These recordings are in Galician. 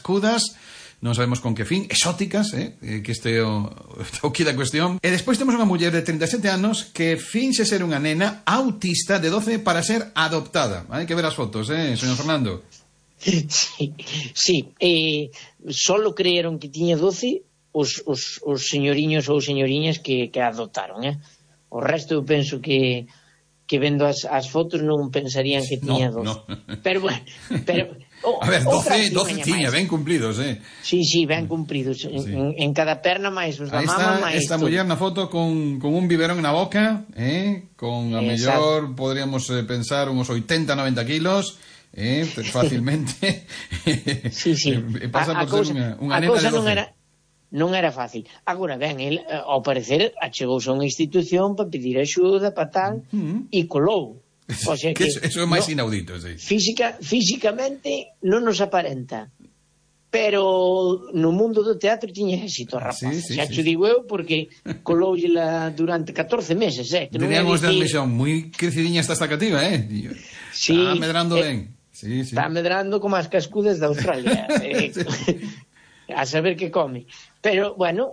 cascudas, non sabemos con que fin, exóticas, que este o que da cuestión. E despois temos unha muller de 37 anos que finxe ser unha nena autista de 12 para ser adoptada. Hai que ver as fotos, señor Fernando. Sí. Solo creeron que tiña 12 os señoriños ou señoriñas que adoptaron, O resto eu penso que vendo as fotos non pensarían que tiña 12. No. Pero bueno, a ver, 12 tiña, ben cumplidos, Sí, ben cumpridos. En cada perna máis os da mama máis. Esta muller na foto con un biberón na boca, con a mellor podríamos pensar uns 80-90 kilos, fácilmente. Sí. Pasa por ser unha nena de 12. Non era fácil. Agora, ben, el, ao parecer, achegouse a unha institución para pedir axuda, para tal, e colou. O sea que eso é máis inaudito, sí. Físicamente non nos aparenta. Pero no mundo do teatro tiña éxito, rapaz. Xa te digo eu, porque coloulla durante 14 meses, Teníamos de admisión moi crecidiña esta cativa, Sí. Está medrando ben. Sí. Está medrando como as cascudas de Australia. A saber que come. Pero, bueno,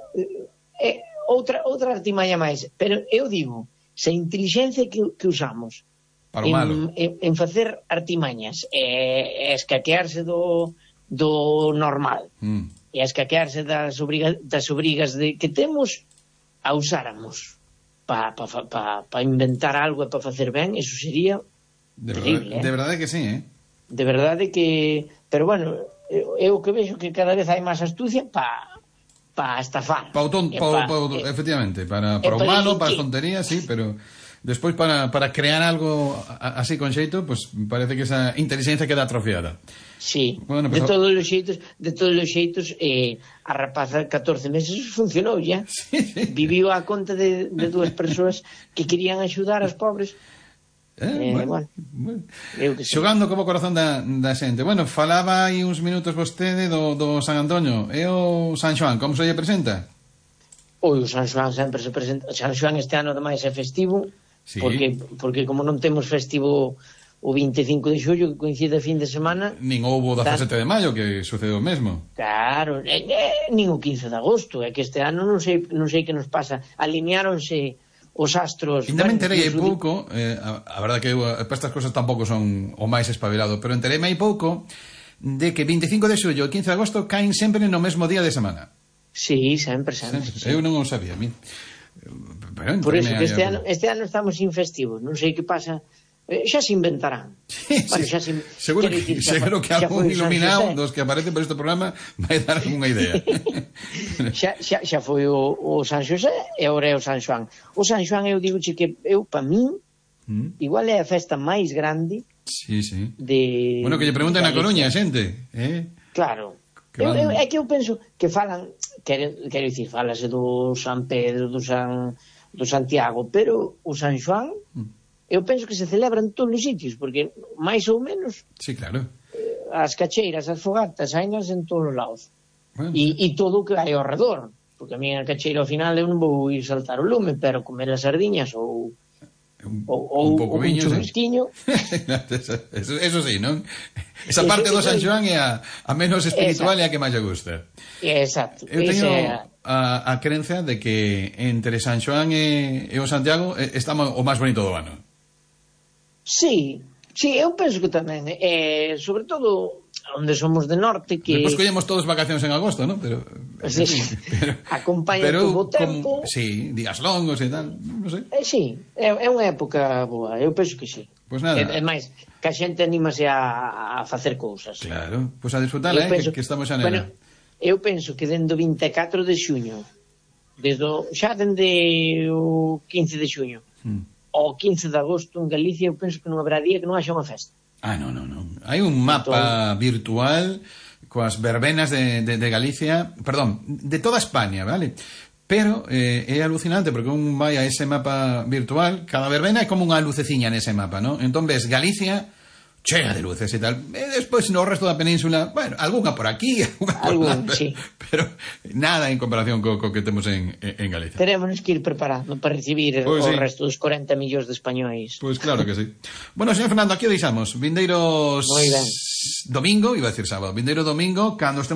outra artimaña máis. Pero eu digo, se a inteligencia que usamos para o malo en facer artimañas é escaquearse do normal, e escaquearse das obrigas que temos, a usáramos para inventar algo e para facer ben, eso sería terrible. De verdade que sí, De verdade que... Pero, bueno... Eu que vexo que cada vez hai máis astucia para estafar. Efectivamente, para o malo, para as tonterías, sí, pero despois para crear algo así con xeito, pues parece que esa inteligencia queda atrofiada. Sí, bueno, pues, de todos os xeitos, a rapaza 14 meses funcionou ya. Sí. Viviu a conta de dúas persoas que querían axudar aos pobres. Bueno. Xogando como corazón da xente. Bueno, falaba aí uns minutos vostede do San Antonio. E o San Xoán, como se lle presenta? O San Xoán sempre se presenta. San Xoán este ano ademais é festivo, sí. porque como non temos festivo o 25 de xullo, que coincide fin de semana, nin houbo 17 de maio, que sucedeu o mesmo. Claro, nin o 15 de agosto. É que este ano non sei que nos pasa. Alineáronse os astros... Ainda me enterei hai pouco, a verdade que para estas cosas tampouco son o máis espabilado, pero entereime hai pouco de que 25 de xullo e 15 de agosto caen sempre no mesmo día de semana. Sí, sempre. Sí. Eu non o sabía, a mí. Por eso que este ano estamos infestivos, non sei que pasa... xa se inventarán. Seguro que algún iluminado dos que aparece por este programa vai dar algunha idea. xa foi o San Xosé e agora é o San Xoán. O San Xoán eu digo que para min igual é a festa máis grande. Sí. Bueno, que lle pregunten na Coruña, xente, Claro. É que eu penso que falan, quero dicir, falase do San Pedro, do Santiago, pero o San Xoán eu penso que se celebra en todos os sitios, porque máis ou menos as cacheiras, as fogatas, hainas en todos os lados. E todo o que hai ao redor, porque a minha cacheira ao final eu non vou ir saltar o lume, pero comer as sardiñas ou un churrasquiño. Eso sí, non? Esa parte do San Xoán é a menos espiritual e a que máis lle gusta. Exacto. Eu teño a creencia de que entre San Xoán e o Santiago está o máis bonito do ano. Sí, eu penso que tamén, sobre todo onde somos de norte, que... Depois collemos todos vacacións en agosto, non? Pero acompaña todo o tempo. Sí, días longos e tal, non sei. Sí, é unha época boa, eu penso que sí. Pois nada. É máis, que a xente anímase a facer cousas. Claro, pois a disfrutala, que estamos xa nela. Eu penso que dende o 24 de xuño, xa dende o 15 de xuño, o 15 de agosto en Galicia, eu penso que non habrá día que non haxa unha festa. Non. Hai un mapa virtual coas verbenas de Galicia, perdón, de toda España, vale? Pero é alucinante porque un vai a ese mapa virtual, cada verbena é como unha luceciña nese mapa, non? Entón ves Galicia chea de luces e tal. E despois no resto da península, bueno, algunha por aquí, algunha por lá, sí. Pero nada en comparación co que temos en Galicia. Teremos que ir preparando para recibir o resto dos 40 millóns de españois. Pois claro que sí. Bueno, señor Fernando, aquí o deixamos. Vindeiros domingo, iba a decir sábado, vindeiro domingo, cando estemos